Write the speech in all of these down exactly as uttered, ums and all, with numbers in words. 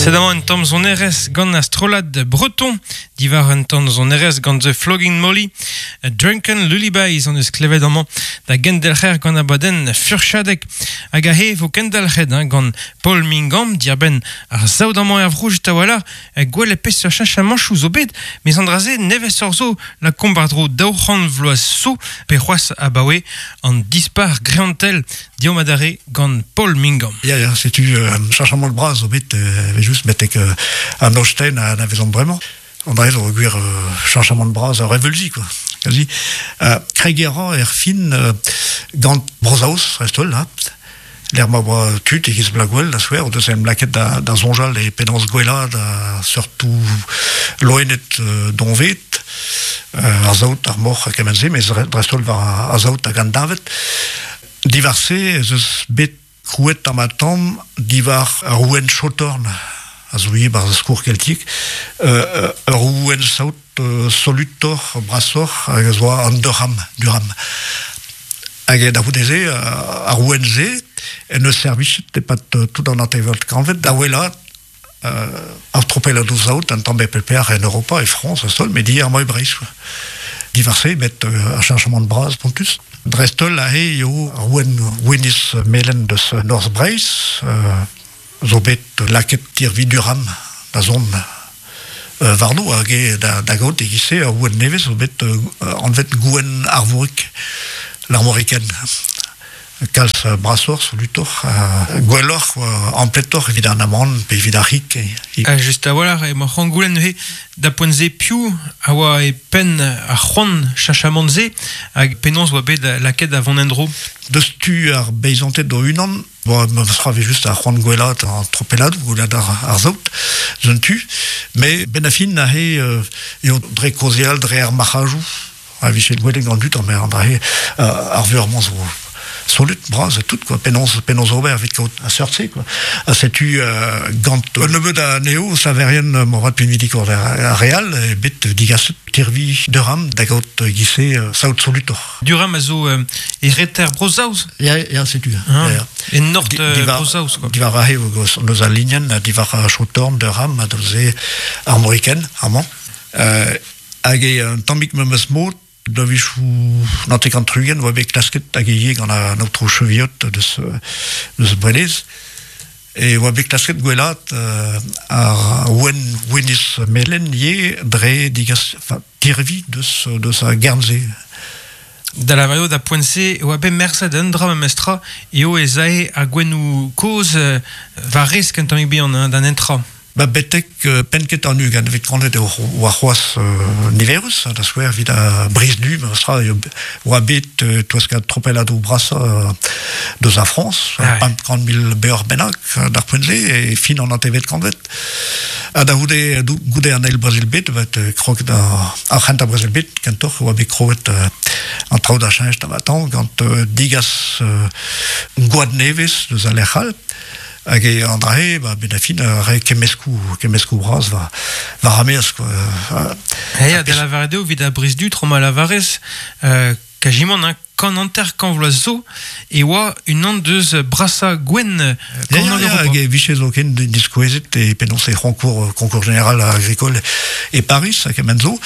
Sed amañ un tamm sonerezh gant ar strollad breton, diwar un tamm sonerezh gant The Flogging Molly, Drunken Lullabies an eus klevet amañ da gendelc'her gant abadenn furchadek hag ahe vo kendelc'het hein, gant Paul Mingam diarbenn ar saout amañ er vro just a-walc'h gwell e peseurt cheñchamanchoù zo bet mes an dra-se nevez ur zo la komp war-dro daou c'hant vloaz zo pe c'hoazh abaoe an dispac'h greantel deomp adarre gant Paul Mingam. Ya, ya, setu euh, cheñchamant bras zo bet euh, just betek euh, an Holstein a anavezomp bremañ. An dra zo gwir euh, cheñchamant bras a reveulzi, quoi. Quasi. Euh, kregiñ a ra er fin euh, gant Bro-Saoz, dreist-holl, ha. Lec'h ma oa tud e-giz Blagwell, da skouer, o deus em lakaet da, da soñjal e penaos gwellaat da seurtoù loened euh, doñvaet, euh, ar saout, ar moc'h ha kement-se, mes dreist-holl war ar saout hag an deñved. Diwar-se ez eus bet krouet tamm-ha-tamm diwar ar ouenn Shorthorn, a zo ivez barzh ar skourr keltiek, euh, ur ouenn saout euh, solutoc'h, brasoc'h, hag a zo an Durham, Durham. Hag da c'houde-se, ar ouenn-se, en eus servichet e-pad tout an hantervet kantved, da wellaat euh, ar tropelladoù saout an tamm bep en Europa e Frañs a-sol, met ivez amañ e Breizh. Diwar-se, met euh, ar cheñchamant bras spontus. Dreist-holl aze eo ar ouenn gwinizh melen deus Norzh Breizh, euh, zo bet lakaet tirvi Durham da zont euh, warno hag eo da, da gaout e-giz-se ar ouenn nevez zo bet euh, anvet gouenn Arvorig, l'armoricaine. Kalz brasoc'h, solutoc'h, uh, gwelloc'h, uh, ampletoc'h evit an amann pe evit ar c'hig. Ha just a-walc'h, emañ c'hoant goulenn neuze da poent-se piv a oa e penn ar c'hoant cheñchamant-se hag penaos oa bet lakaet da vont en-dro. Deus tu ar beizanted o-unan, bon, ma sera just ar c'hoant gwellaat an tropelladoù, gwellaat ar, ar saout, deus un tu, met benn ar fin aze euh, eo dre kaozeal, dre ar marc'hadoù, a vije gwelet gant dud, an dra-se euh, ar veur-mañ zo solut bras tout quoi penaos penaos ober evit kaout a seurt-se quoi ha setu euh, gant un nebeud anezho saverien moarvat pinvidikoc'h ar re all e bet digaset tirvi Durham da gaout e-giz-se saout solutoc'h. Durham a zo euh, e reter Bro-Saoz. Ya, ya, setu. Ah, Ya, ya. E nord Di- euh, diwar- Bro-Saoz quoi. Diwar aze eus al linenn, diwar ar Shorthorn, Durham, ha deus armoricaine, amañ. Euh, hag e un tammig memes mod, da wechoù naontek ha tri-ugent, oa bet klasket hag ivez gant an aotrou Cheviot deus, deus Brelez. E oa bet klasket gwellaat euh, ar ouenn gwinizh melen ivez dre digas, enfin, tirvi deus, deus a Guernsey. Da lavaret eo da poent-se oa bet merzet un dra memestra eo ez ae ar gouennoù kozh euh, war resk un tammig bihan hein, d'an entra. Ba betek euh, penn kentañ an ugent vet kantved eo oa c'hoazh euh, niverus, da skouer evit ar Brizh-Du, memestra eo oa bet euh, toueskat tropelladoù brasañ euh, deus ar Frañs, Ah ouais. pemp kant mil beoc'h bennak d'ar poent-se, e fin an hantervet kantved. Ha da c'houde, goude an eil brezel bed, bet kroget ar, ar c'hentañ brezel bed, kentoc'h oa bet kroget euh, an traoù da cheñch tamm-ha-tamm gant euh, digas euh, gwad nevez deus al lec'h all. Hag e an dra-se, ba, benn ar fin, re kemmeskoù, kemmeskoù bras war, war ar maez, quoi. Ha ya, da lavaret eo evit ar Brizh-Du, tro ma lavarez, euh, kajimant, hein, kant hanter kant vloaz zo, e oa unan deus brasañ gouenn euh, Ya, kornôg ya, ya, Europa. hag e vije zoken diskouezet e penaos e c'honkour, concours général agricole e Paris, hag kement zo,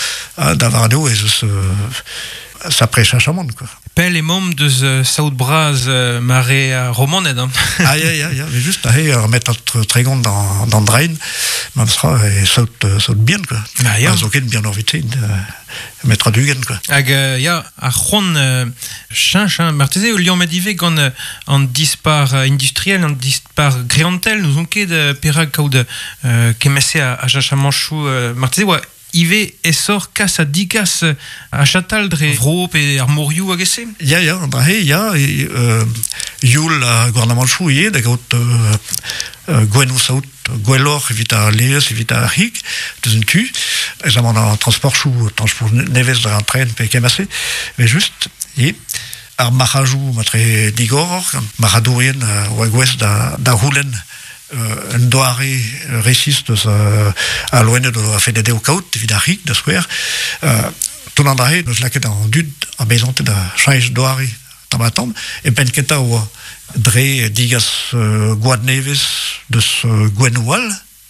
ha da lavaret eo ez eus euh, sapre cheñchamant, quoi. Pell emaomp deus euh, saout bras euh, mare ar Romaned. Hein. Ah, ya, ya, ya, mais just aze ur metrad tregont d'an, d'an drain, memestra e saout, saout bihan, quoi. Ah, ya. Ha zoken bihan evit se, euh, metrad ugent, quoi. Hag euh, ya, ar c'hoant euh, cheñch, hein, marteze eo liammet ivez gant euh, an dispac'h euh, industriel, an dispac'h greantel, n'ouzon ket euh, perak kaout euh, kement-se a, a cheñchamanchoù, euh, marteze oa ivez aesoc'h kas ha digas ar chatal dre vro pe ar morioù hag e-se. Ya, ya, an dra-se, ya, e, euh, youl ar gouarnamanchoù ivez da gaout euh, euh, gouennoù saout gwelloc'h evit ar laezh, evit ar c'hig, deus un tu, ez amañ an transportchoù, transport nevez dre an tren pe kement-se, mais just, e, ar marc'hadoù matre digoroc'h, gant marc'hadourien euh, oa gouest da, da c'houlenn euh, un doare resis deus euh, al loened o a felle dezho kaout evit ar c'hig, da skouer. Euh, tout an dra-se, deus lakaet an dud ar beizanted da cheñch doare tamm-ha-tamm, e penn kentañ oa dre digas euh, gwad nevez deus euh, gouennoù all,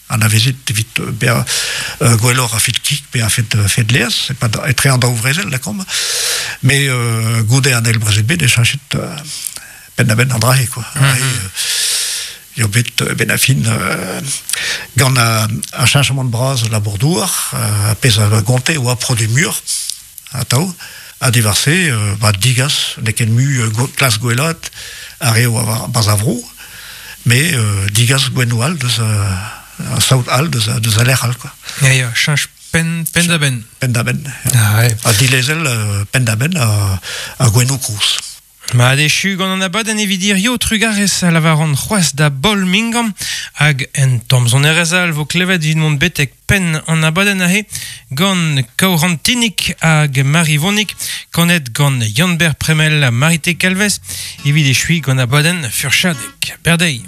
anavezet evit bezañ uh, gwelloc'h a fet kig pe a fet, fet laezh, e-pad etre an daou vrezel, lakaomp. Met uh, goude an eil brezel bet e cheñchet uh, penn-da-benn an dra-se, quoi. Mm -hmm. E, eo bet ben a fin euh, gant a, a cheñchamant bras labour-douar, euh, a pezh a gonte oa produ muioc'h, atav, ha diwar-se, euh, ba digas, n'eo ket mui euh, klas gwellaat ar re oa barzh ar vro, met euh, digas gouennoù all deus uh, saout all deus, deus a lec'h all, quoi. Ya, ya, cheñch penn, penn da benn. Penn da benn. Ah, ouais. Ha dilezel euh, penn da benn a, a gouennoù kozh. Mat echu gant an abadenn evit hirio trugarez a lavaran c'hoazh da Baol Mingant hag en tamm sonerezh all vo klevet evit mont betek penn an abadenn aze gant Kaourantinik hag Marivonik kanet gant Yann-Ber Premel ha Marite Kalvez evit echuiñ gant abadenn Furchadeg. Berdeiz.